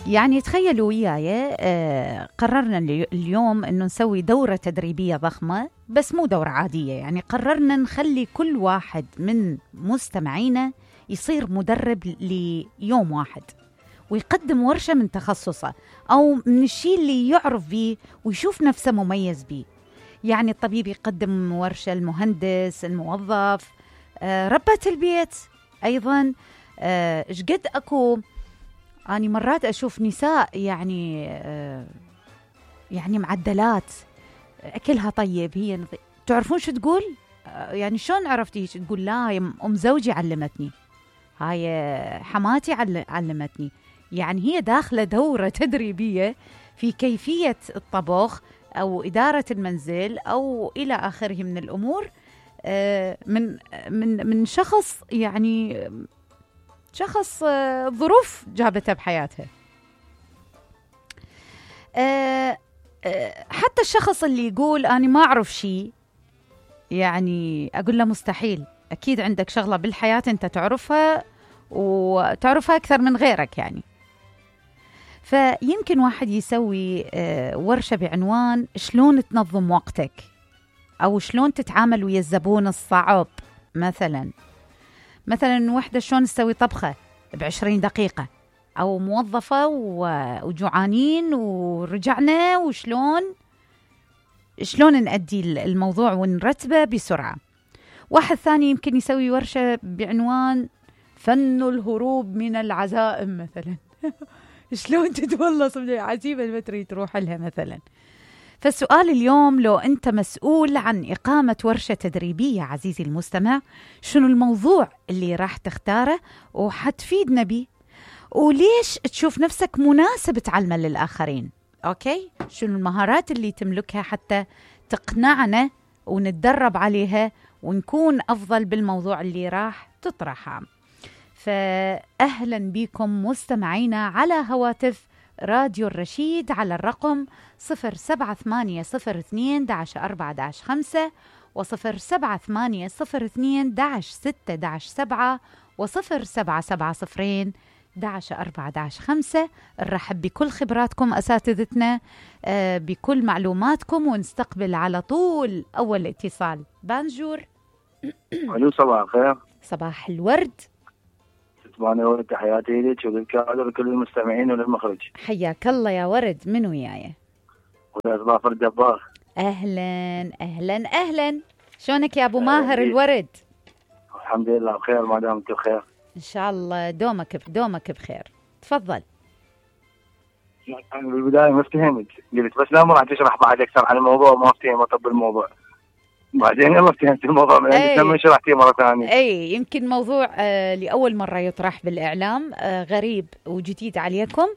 يعني تخيلوا وياي قررنا اليوم انه نسوي دورة تدريبية ضخمة، بس مو دورة عادية. يعني قررنا نخلي كل واحد من مستمعينا يصير مدرب ليوم واحد، ويقدم ورشة من تخصصه أو من الشيء اللي يعرف به ويشوف نفسه مميز به. يعني الطبيب يقدم ورشة، المهندس، الموظف، ربة البيت أيضا. قد أكو أنا مرات أشوف نساء يعني معدلات، أكلها طيب، هي تعرفون شو تقول؟ يعني شلون عرفتي؟ تقول لا هي أم زوجي علمتني، هاي حماتي علمتني. يعني هي داخلة دورة تدريبية في كيفية الطبخ أو إدارة المنزل أو إلى آخره من الأمور، من شخص يعني شخص ظروف جابتها بحياتها. حتى الشخص اللي يقول أنا ما أعرف شيء، يعني أقول له مستحيل، أكيد عندك شغلة بالحياة أنت تعرفها وتعرفها أكثر من غيرك. يعني فيمكن واحد يسوي ورشة بعنوان شلون تنظم وقتك، أو شلون تتعامل ويا الزبون الصعب. مثلا وحدة شلون تسوي طبخة ب20 دقيقة، أو موظفة وجوعانين ورجعنا وشلون نأدي الموضوع ونرتبه بسرعة. واحد ثاني يمكن يسوي ورشة بعنوان فن الهروب من العزائم مثلا شلون تتولص من العزيمة اللي ما تريد تروح لها مثلا. فالسؤال اليوم، لو أنت مسؤول عن إقامة ورشة تدريبية عزيزي المستمع، شنو الموضوع اللي راح تختاره وحتفيدنا بيه، وليش تشوف نفسك مناسب تعلمه للآخرين؟ أوكي، شنو المهارات اللي تملكها حتى تقنعنا ونتدرب عليها ونكون أفضل بالموضوع اللي راح تطرحه. فأهلا بكم مستمعينا على هواتف راديو الرشيد على الرقم 07802-4-5 و07802-6-7 و0770-11-4-5. نرحب بكل خبراتكم أساتذتنا، بكل معلوماتكم، ونستقبل على طول أول اتصال. بانجور. الو، صباح الخير. صباح الورد. ورد، تحياتي لك وللكادر ولكل المستمعين وللمخرج. حياك الله يا ورد. من وياي؟ ويا ظافر الدبار. أهلا أهلا أهلا. شلونك يا أبو ماهر الورد؟ الحمد لله بخير، ما دامت بخير إن شاء الله. دومك بخير. تفضل. أنا بالبداية ما فهمت، قلت بس لا راح تشرح بعد أكثر عن الموضوع، ما فهمت طب الموضوع. بعدين يلا فهمت الموضوع من عندك لما شرحتيه مرة ثانية. يمكن موضوع لأول مرة يطرح بالإعلام، غريب وجديد عليكم.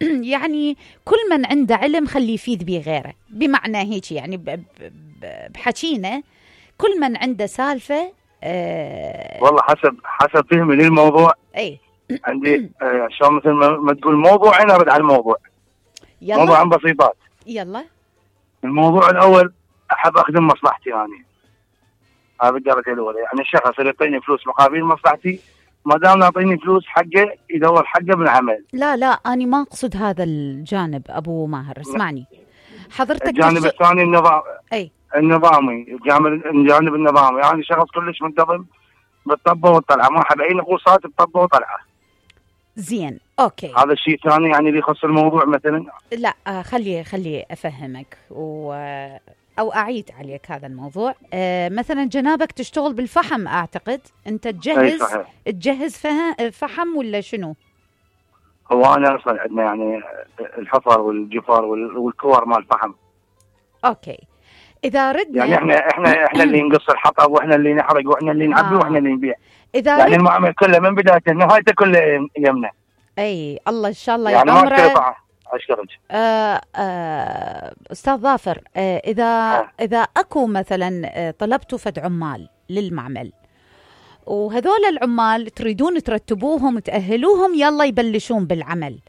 يعني كل من عنده علم خليه يفيد به غيره، بمعنى هيك يعني بحكينا كل من عنده سالفة. والله حسب فهمي للموضوع. عندي شلون مثل ما تقول موضوع، أنا أرد على الموضوع. يلا. موضوع عن بسيطات. يلا. الموضوع الأول، أحب أخدم مصلحتي أنا. هذا الدرجة الأولى. يعني الشخص اللي يعطيني فلوس مقابل مصلحتي، ما دام يعطيني فلوس حقه يدور حقه بالعمل. لا أنا ما أقصد هذا الجانب أبو ماهر، اسمعني حضرتك. الجانب الثاني النظامي، الجانب النظامي. يعني شخص كلش منتظم بالطبة والطلعة، ما أحب أي نقوصات بالطبة وطلعة. زين، أوكي. هذا الشيء الثاني يعني اللي يخص الموضوع مثلا. لا خلي أفهمك أو أعيد عليك هذا الموضوع. مثلا جنابك تشتغل بالفحم، أعتقد أنت تجهز فحم ولا شنو؟ هو أنا أصلا عندنا يعني الحفر والجفر والكور مال الفحم. أوكي، إذا ردنا يعني إحنا اللي نقص الحطب، وإحنا اللي نحرق، وإحنا اللي نعبي، وإحنا اللي نبيع. إذا يعني المعامل كله من بدايته لنهايته كله يمنا. الله إن شاء الله يعني يعمره. أشكرك. أستاذ ظافر، إذا أكو مثلا طلبتوا فد عمال للمعمل، وهذول العمال تريدون ترتبوهم تأهلوهم يلا يبلشون بالعمل،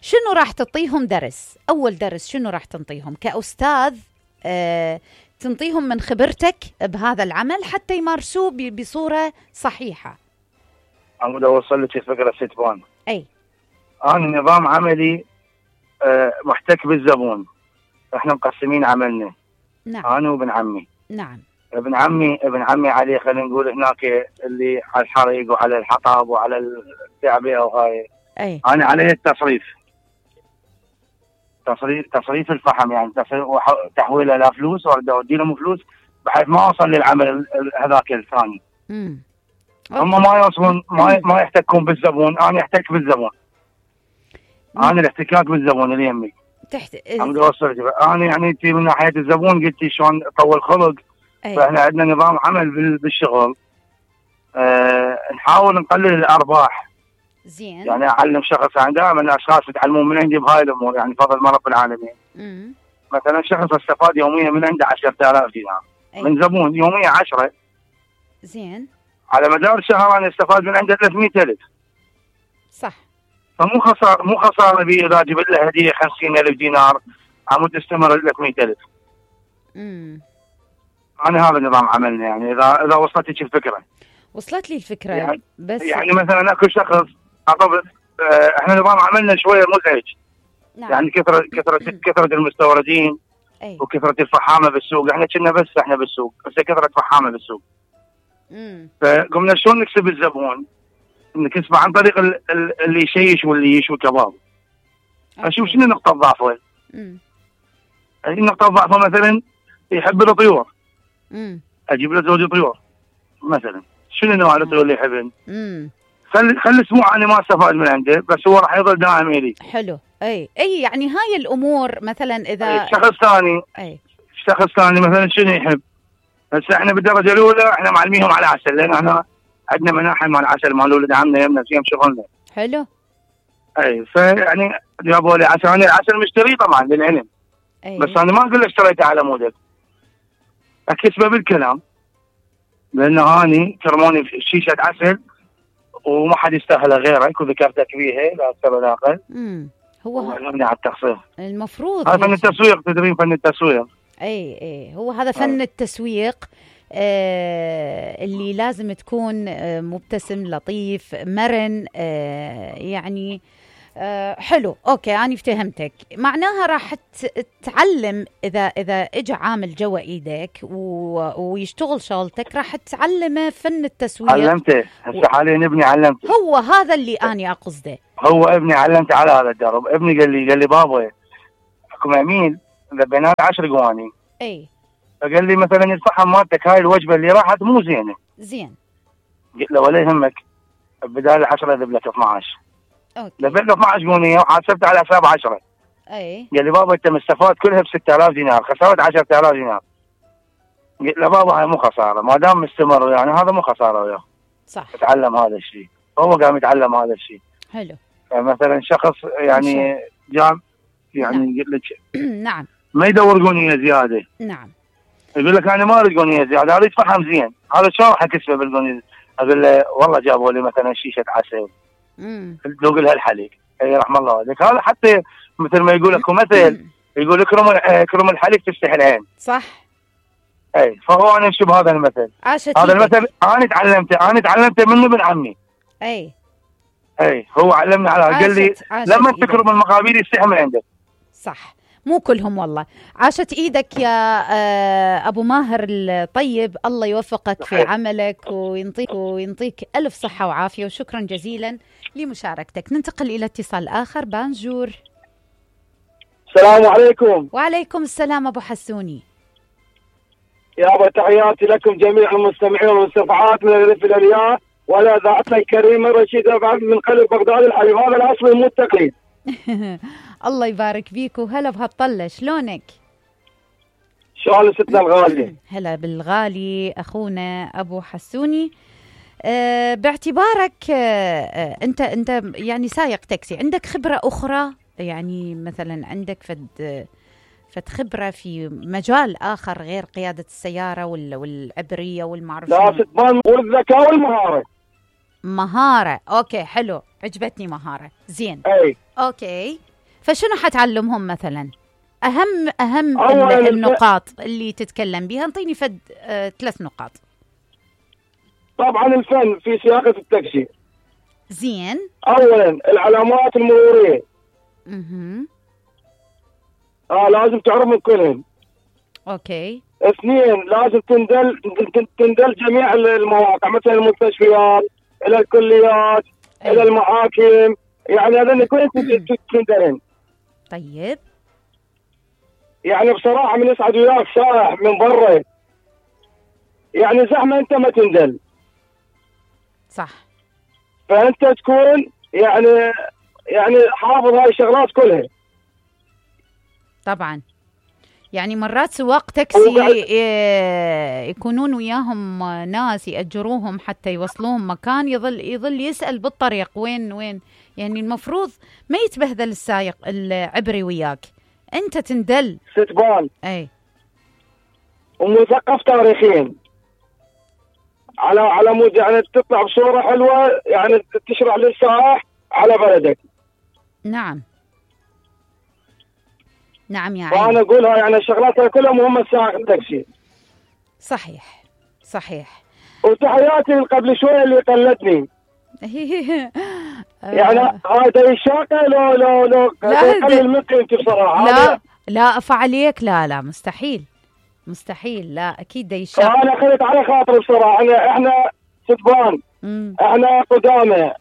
شنو راح تعطيهم درس؟ أول درس شنو راح تنطيهم كأستاذ؟ تنطيهم من خبرتك بهذا العمل حتى يمارسوه بصورة صحيحة. أنا أوصل لك الفكرة ستبان. أي أنا نظام عملي محتك بالزبون. احنا مقسمين عملنا، نعم انا وابن عمي. نعم ابن عمي عليه، خلينا نقول هناك اللي على الحريق وعلى الحطب وعلى التعبئه وهاي. اي انا عليه التصريف، تصريف الفحم، يعني تحويله لا فلوس ولا اودي لهم فلوس، بحيث ما اوصل للعمل هذاك الثاني. هم ما يوصلون، ما يحتكون بالزبون، انا احتك بالزبون. انا الاحتكاك بالزبون اللي يمي عم اوصل. انا يعني انت من ناحيه الزبون قلتي شلون طول خلق. فاحنا عندنا نظام عمل بالشغل، نحاول نقلل الارباح. زين. يعني اعلم شخص، يعني دائما اشخاص يتعلمون من عندي بهاي الامور، يعني فضل ما رب العالمين. مثلا شخص استفاد يوميا من عنده 10,000 دينار من زبون، يوميا 10. زين. على مدار الشهر انا استفاد من عنده 300,000. صح. فمو خساره بي اذا جبت له هديه 50,000 دينار عمود تستمر 300,000. انا هذا نظام عملنا، يعني اذا وصلتك الفكره. وصلت لي الفكره يعني بس يعني مثلا اكو شخص احنا نظام عملنا شويه مزعج. نعم. يعني كثره المستوردين. وكثره الفحامه بالسوق. احنا بالسوق بس كثره فحامه بالسوق. فقمنا شلون نكسب الزبون؟ نكسبه عن طريق اللي يشيش واللي يشوي كباب. اشوف شنو نقطه ضعفه. نقطه ضعفه مثلا يحب الطيور. اجيب له زوج طيور مثلا. شنو نوع الطيور اللي يحبن؟ خلي اسبوع انا ما استفاد من عنده، بس هو راح يظل دائم الي. حلو. اي يعني هاي الامور مثلا اذا شخص ثاني مثلا شنو يحب؟ هسه احنا بالدرجه الاولى احنا معلميهم على عسل، لان احنا عندنا مناحل مال عسل مال ولد عمنا يمنا فيهم شغلنا. حلو. فيعني جابوا لي عسل، انا العسل مشتري طبعا للعلم. بس انا ما اقول له اشتريته على مودك، اكسبه بالكلام، لانه هاني كرموني في شيشه عسل وما حد يستاهلها غيرك، وذكرتك بيها لا اكثر ولا اقل. هو علمني على التخصيص المفروض هذا فن التسويق، تدرين فن التسويق. اي هو هذا فن التسويق. اللي لازم تكون مبتسم لطيف مرن. يعني حلو. اوكي انا فهمتك. معناها راح تتعلم اذا اجى عامل جوا ايدك ويشتغل شغلتك، راح تتعلمه فن التسويق. علمته هسه حاليا ابني علمته. هو هذا اللي اني اقصده. هو ابني علمته على هذا الدرب. ابني قال لي بابا اكو عميل ذبينا 10 قواني. فقال لي مثلا الفحم مالتك هاي الوجبه اللي راحت مو زينه. زين. قلت له ولا يهمك، بدال 10 اذب لك 12. ذبيت له 12 قونيه وحاسبته على حساب 10. قال لي بابا انت مستفاد كلها ب 6,000 دينار، خسرت 10,000 دينار. قلت له بابا هاي مو خساره، ما دام مستمر يعني هذا مو خساره وياه. صح. تعلم هذا الشيء، هو قام يتعلم هذا الشيء. حلو. فمثلا شخص يعني جام يعني قلت لك نعم ما يدور قونيه زياده. نعم. يقول لك انا ما اريد قونيه زياده، اريد فحم زين. هذا شلون راح اكسبه بالقونيه؟ اقول له والله جابوا لي مثلا شيشه عسل. ذوق لها الحليب. اي رحم الله والديك. هذا حتى مثل ما يقول اكو مثل يقول اكرم الحليب تفتح العين. صح. اي فهو انا امشي بهذا المثل. هذا المثل انا تعلمته منه ابن عمي. اي هو علمني على. قال لي لما تكرم المقابيل يستحي من عندك. صح. مو كلهم والله. عاشت ايدك يا ابو ماهر الطيب. الله يوفقك في عملك وينطيك الف صحه وعافيه، وشكرا جزيلا لمشاركتك. ننتقل الى اتصال اخر. بانجور. السلام عليكم. وعليكم السلام ابو حسوني. يابا تحياتي لكم جميع المستمعين والمستمعات من الالف الى الياء، ولا ذاتنا الكريمه رشيده من قلب بغداد الحبيب. هذا الاصل مو التقليد. الله يبارك فيك وهلا بهالطلة. شلونك؟ شلون ستنا الغالية؟ هلا بالغالي أخونا أبو حسوني. باعتبارك أنت يعني سايق تاكسي، عندك خبرة أخرى؟ يعني مثلا عندك فد خبرة في مجال آخر غير قيادة السيارة والعبرية والمعرفة؟ لا تبان والذكاء والمهارة. مهارة. أوكي حلو، عجبتني مهارة. زين. أوكي، فشنو حتعلمهم مثلا؟ أهم النقاط اللي تتكلم بها. انطيني فد 3 نقاط. طبعا الفن في سياقة التاكسي. زين. أولا العلامات المرورية. لازم تعرفهم كلهم. اوكي. 2 لازم تندل جميع المواقع، مثلا المستشفيات الى الكليات الى المحاكم، يعني هذول كلهم تندلن. طيب يعني بصراحه من يسعد وياك سائح من برا، يعني زحمه انت ما تندل. صح. فانت تكون يعني حافظ هاي الشغلات كلها. طبعا. يعني مرات سواق تاكسي يكونون وياهم ناس يأجروهم حتى يوصلوهم مكان، يظل يسأل بالطريق وين، يعني المفروض ما يتبهذل السايق العبري وياك، انت تندل ستبان. اي. ومثقف تاريخيا على مود يعني تطلع بصورة حلوة، يعني تشرح للسائح على بلدك. نعم يا عيني. فأنا أقولها يعني الشغلات كلها مهمة سائق التاكسي. صحيح. وتحياتي قبل شوية اللي قلدني. يعني هذا الشاقة لو قلل من قيمتي بصراحة. لا أفع عليك، لا مستحيل، لا أكيد ده الشاقة. أنا أخذت على خاطر بصراحة. إحنا ستبان، إحنا قدامى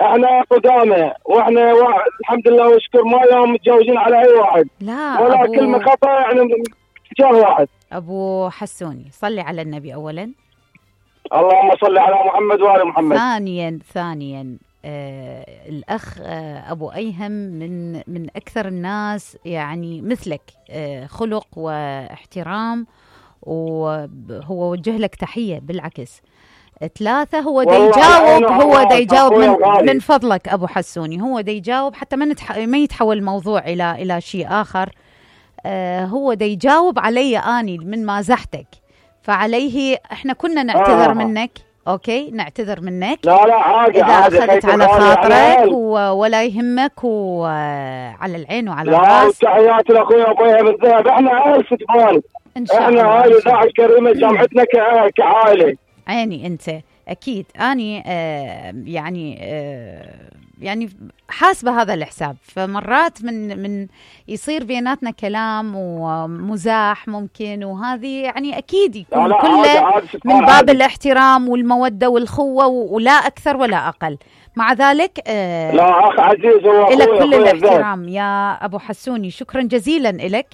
احنا قدامى واحنا الحمد لله والشكر ما يوم متجاوزين على اي واحد، لا ولا كلمه خطا يعني تجاه واحد. ابو حسوني صلي على النبي اولا. اللهم صل على محمد وآل محمد. ثانيا الاخ ابو ايهم من اكثر الناس يعني مثلك خلق واحترام، وهو وجه لك تحيه بالعكس. 3 هو دا يجاوب من فضلك ابو حسوني، هو دا يجاوب حتى ما يتحول الموضوع الى شيء اخر. هو دا يجاوب علي اني من مازحتك، فعليه احنا كنا نعتذر منك. اوكي نعتذر منك. لا عادي، اذا اخذت على خاطرك ولا يهمك، وعلى العين وعلى الراس. لا تحياتي لاخويا ابويا بالذهب. احنا عائله ستبان ان شاء الله. احنا عائله اذاعه الكريمه جامعتنا كعائله. عيني انت اكيد. اني يعني حاسبه هذا الحساب. فمرات من يصير بيناتنا كلام ومزاح ممكن، وهذه يعني اكيد يكون كله من باب الاحترام والموده والخوه، ولا اكثر ولا اقل. مع ذلك لا اخ عزيز لك كل الاحترام يا ابو حسوني. شكرا جزيلا لك